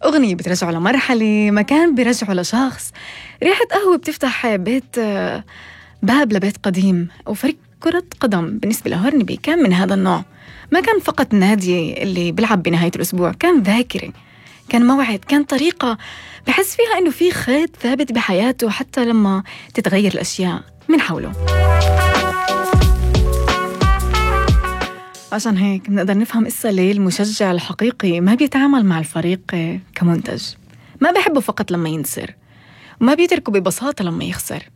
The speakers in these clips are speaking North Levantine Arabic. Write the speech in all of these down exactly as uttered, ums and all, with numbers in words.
أغنية بترجعه لمرحلة، مكان بيرجعه لشخص، ريحة قهوة بتفتح بيت باب لبيت قديم، أو فريق كرة قدم بالنسبة لهورنبي كان من هذا النوع. ما كان فقط نادي اللي بيلعب بنهاية الأسبوع، كان ذاكرة، كان موعد، كان طريقة بحس فيها إنه في خيط ثابت بحياته حتى لما تتغير الأشياء من حوله. عشان هيك بنقدر نفهم قصة ليه المشجع الحقيقي ما بيتعامل مع الفريق كمنتج، ما بيحبه فقط لما ينتصر، وما بيتركه ببساطة لما يخسر.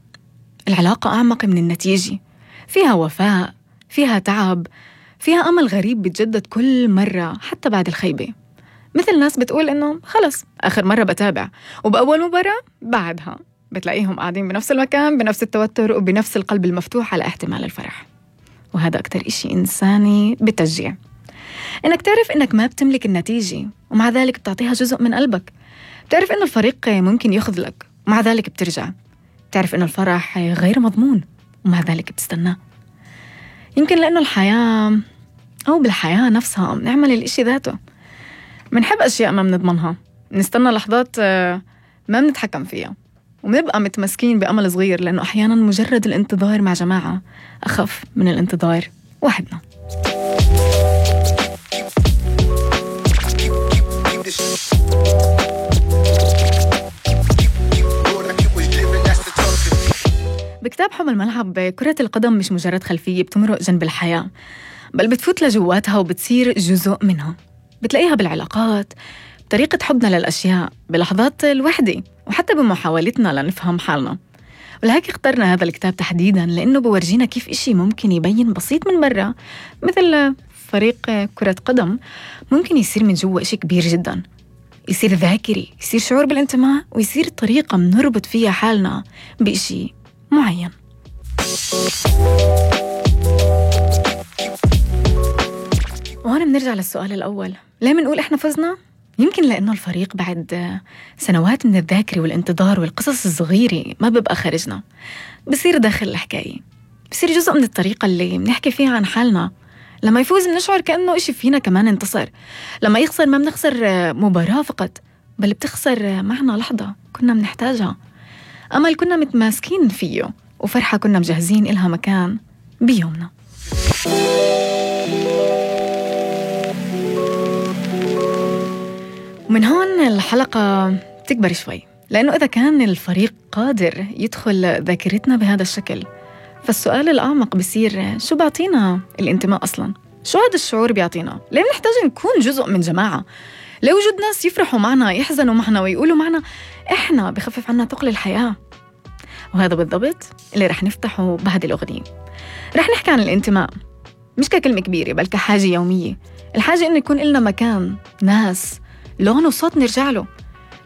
العلاقة أعمق من النتيجة، فيها وفاء، فيها تعب، فيها أمل غريب بيتجدد كل مرة حتى بعد الخيبة. مثل ناس بتقول إنه خلص آخر مرة بتابع، وبأول مباراة بعدها بتلاقيهم قاعدين بنفس المكان بنفس التوتر وبنفس القلب المفتوح على احتمال الفرح. وهذا أكتر إشي إنساني بالتشجيع، إنك تعرف إنك ما بتملك النتيجة ومع ذلك بتعطيها جزء من قلبك. بتعرف إنه الفريق ممكن يخذلك ومع ذلك بترجع. بتعرف إنه الفرح غير مضمون ومع ذلك بتستناه. يمكن لأنه الحياة أو بالحياة نفسها نعمل الإشي ذاته، منحب أشياء ما بنضمنها، نستنى لحظات ما بنتحكم فيها، ومنبقى متمسكين بأمل صغير، لأنه أحياناً مجرد الانتظار مع جماعة أخف من الانتظار وحدنا. بكتاب حب الملعب، كرة القدم مش مجرد خلفية بتمرق جنب الحياة، بل بتفوت لجواتها وبتصير جزء منها. بتلاقيها بالعلاقات، بطريقة حبنا للأشياء، بلحظات الوحدة، وحتى بمحاولتنا لنفهم حالنا. ولهيك اخترنا هذا الكتاب تحديداً، لأنه بورجينا كيف إشي ممكن يبين بسيط من برا مثل فريق كرة قدم ممكن يصير من جوا إشي كبير جداً، يصير ذاكري، يصير شعور بالانتماء، ويصير طريقة منربط فيها حالنا بإشي معين. وهنا بنرجع للسؤال الأول، ليه منقول إحنا فزنا؟ يمكن لأنه الفريق بعد سنوات من الذاكرة والانتظار والقصص الصغيرة ما بيبقى خارجنا، بصير داخل الحكاية، بصير جزء من الطريقة اللي بنحكي فيها عن حالنا. لما يفوز بنشعر كأنه إشي فينا كمان انتصر، لما يخسر ما بنخسر مباراة فقط، بل بتخسر معنا لحظة كنا بنحتاجها، أمل كنا متماسكين فيه، وفرحة كنا مجهزين إلها مكان بيومنا. ومن هون الحلقة تكبر شوي، لأنه إذا كان الفريق قادر يدخل ذاكرتنا بهذا الشكل، فالسؤال الأعمق بيصير شو بعطينا الانتماء أصلاً؟ شو هذا الشعور بيعطينا؟ ليه بنحتاج نكون جزء من جماعة؟ ليه وجود ناس يفرحوا معنا، يحزنوا معنا، ويقولوا معنا إحنا بخفف عنا ثقل الحياة؟ وهذا بالضبط اللي رح نفتحه بعد الأغنية. رح نحكي عن الانتماء مش ككلمة كبيرة، بل كحاجة يومية، الحاجة إنه يكون لنا مكان، ناس، لون وصوت نرجع له.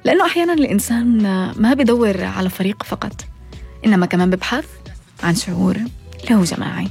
لأنه أحياناً الإنسان ما بدور على فريق فقط، إنما كمان ببحث عن شعور له جماعي.